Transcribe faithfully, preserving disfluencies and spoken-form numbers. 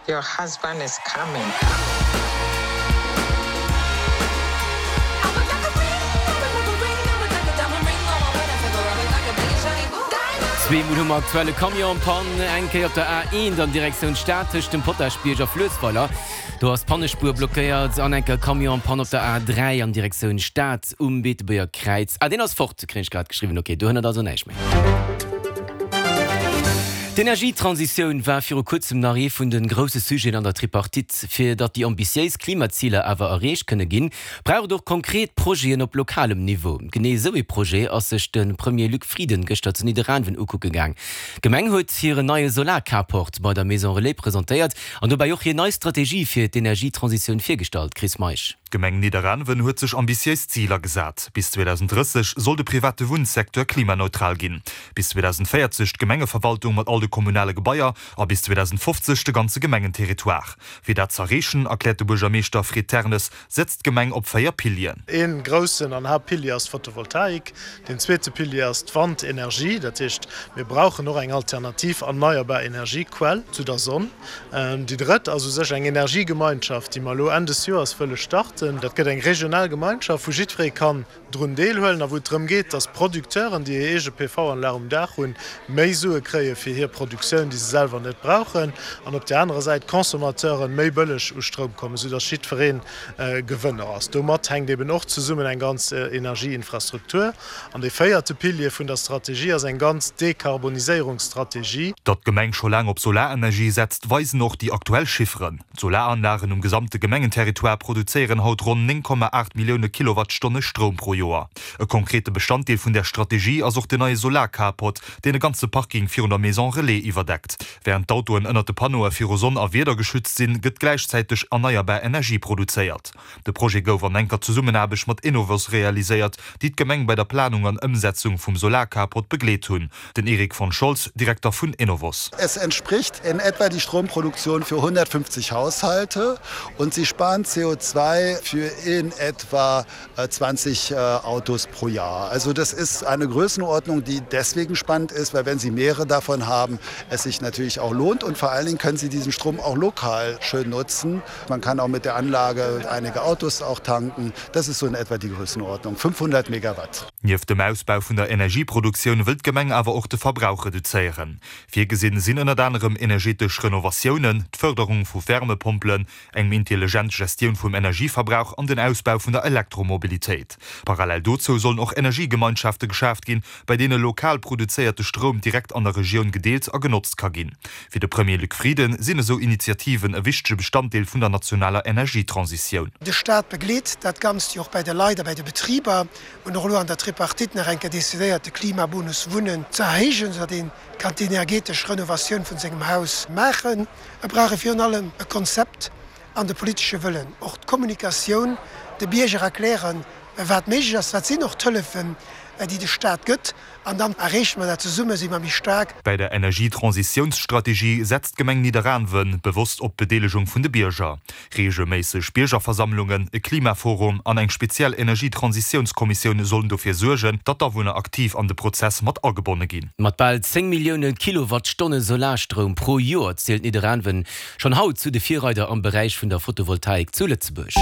Your husband is coming. Zwee Mol hu mer aktuell e Camion en panne, eng Kéier op der A eent an Direktioun Stad tëscht dem Potaschbierg a Fluessweiler, do ass d'Pannespuer blockéiert, an eng Kéier Camion en panne op der A dräi an Direktioun Stad um Beetebuerger Kräiz. Ah, deen ass fort, kréien ech grad geschriwwen. Ok, do hënnert also näischt méi. D'Energietransitioun war viru kuerzem nach ee vun de grousse Sujeten an der Tripartite. Fir datt déi ambitiéis Klimaziler awer erreecht kënne ginn, brauch et och konkret Projeten op lokalem Niveau. Genee esou ee Projet ass sech de Premier Luc Frieden gëschter zu Nidderaanwen ukucke gaang. D'Gemeng huet hiren neie Solar-Carport bei der Maison Relais presentéiert an dobäi och hir nei Strategie fir d'Energietransitioun virgestallt. Chris Meisch. D'Gemeng Nidderaanwen huet sech ambitiéis Ziler gesat. Bis zweedausenddrësseg soll de private Wunnsecteur klimaneutral ginn, bis zweedausenddvéierzeg d'Gemengeverwaltung mat all de kommunale Gebaier a bis zweedausenddfofzeg de ganze Gemengenterritoire. Fir dat z'erreechen, erkläert de Buergermeeschter Fred Ternes, setzt d'Gemeng op véier Pilieren. Ee groussen an Haaptpilier ass d'Photovoltaik. Deen zweete Pilier ass d'Wandenergie. Dat heescht, mir brauchen och eng alternativ erneierbar Energiequell zu der Sonn. Déi drëtt ass u sech eng Energiegemeinschaft, déi mer elo Enn des Joers wëlle starten. Dat gëtt eng regional Gemeinschaft, wou jiddweree kann drun deelhuelen a wou et drëm geet, dass d'Producteuren, déi hir eege P V-Anlag um Daach hunn, méi Sue kréie fir hir Produktioun, déi se selwer net brauchen, an op där anerer Säit d'Consommateuren méi bëlleg u Stroum kommen, soudass jiddweree Gewënner ass. Domat hänkt eben och zesummen eng ganz Energieinfrastruktur. An dee véierte Pilier vun der Strategie ass eng ganz Dekarboniséierungsstrategie. Datt d'Gemeng scho laang op Solarenergie setzt, weisen och déi aktuell Chifferen. D'Solaranlagen um gesamte Gemengenterritoire produzéieren haut ronn néng Komma aacht Millioune Kilowattstonne Stroum pro Joer. E konkrete Bestanddeel vun där Strategie ass och den neie Solar-Carport, deen e ganze Parking virun der Maison Relais iwwerdeckt. Wärend d'Autoen ënnert de Panneaue viru Sonn a Wieder geschützt sinn, gëtt gläichzäiteg erneierbar Energie produzéiert. De Projet gouf an enker Zesummenaarbecht mat Enovos realiséiert, déi d'Gemeng bei der Planung an Ëmsetzung vum Solarcarport begleet hunn. Den Erik von Scholz, Direkter vun Enovos. Es entspricht in etwa die Stromproduktion für hundertfünfzig Haushalte und sie sparen C O zwei für in etwa zwanzig Autos pro Jahr. Also das ist eine Größenordnung, die deswegen spannend ist, weil wenn Sie mehrere davon haben, es sich natürlich auch lohnt und vor allen Dingen können Sie diesen Strom auch lokal schön nutzen. Man kann auch mit der Anlage einige Autos auch tanken. Das ist so in etwa die Größenordnung fünfhundert Megawatt. Nieft dem Ausbau vun der Energieproduktioun wëllt d'Gemeng awer och de Verbrauch reduzéieren. Virgesinn sinn ënnert anerem energetesch Renovatiounen, d'Fërderung vu Wärmepompelen, eng méi intelligent Gestioun vum Energieverbrauch an den Ausbau vun der Elektromobilitéit. Parallel dozou sollen och Energiegemeinschafte geschaaft ginn, bei deene lokal produzéierte Stroum direkt an der Regioun gedeelt a genotzt ka ginn. Fir de Premier Luc Frieden sinn esou Initiativen e wichtege Bestanddeel vun der nationaler Energietransitioun. De Staat begleet dat Ganzt jo och bei de Leit a bei de Betriber. Hunn och elo an der Tripartite nach eng Kéier decidéiert, de Klimabonus Wunnen ze erhéijen, soudatt ee kann d'energetesch Renovatioun vun sengem Haus maachen. Et brauch ee virun allem e Konzept an de politesche Wëllen, och d'Kommunikatioun, de Bierger erklären, wat méiglech ass, wat sinn och d'Hëllefen, déi de Staat gëtt, an dann erreeche mer dat. Zesumme si mer méi staark. Bei der Energietransitiounsstrategie setzt d'Gemeng Nidderaanwen bewosst op d'Bedeelegung vun de Bierger. Reegelméisseg Biergerversammlungen, e Klimaforum an eng speziell Energietransitiounskommissioun sollen dofir suergen, datt d'Awunner aktiv an de Prozess mat agebonne ginn. Mat bal zéng Millioune Kilowattstonne Solarstroum pro Joer zielt Nidderaanwen schonn haut zu de Virreider am Beräich vun der Photovoltaik zu Lëtzebuerg.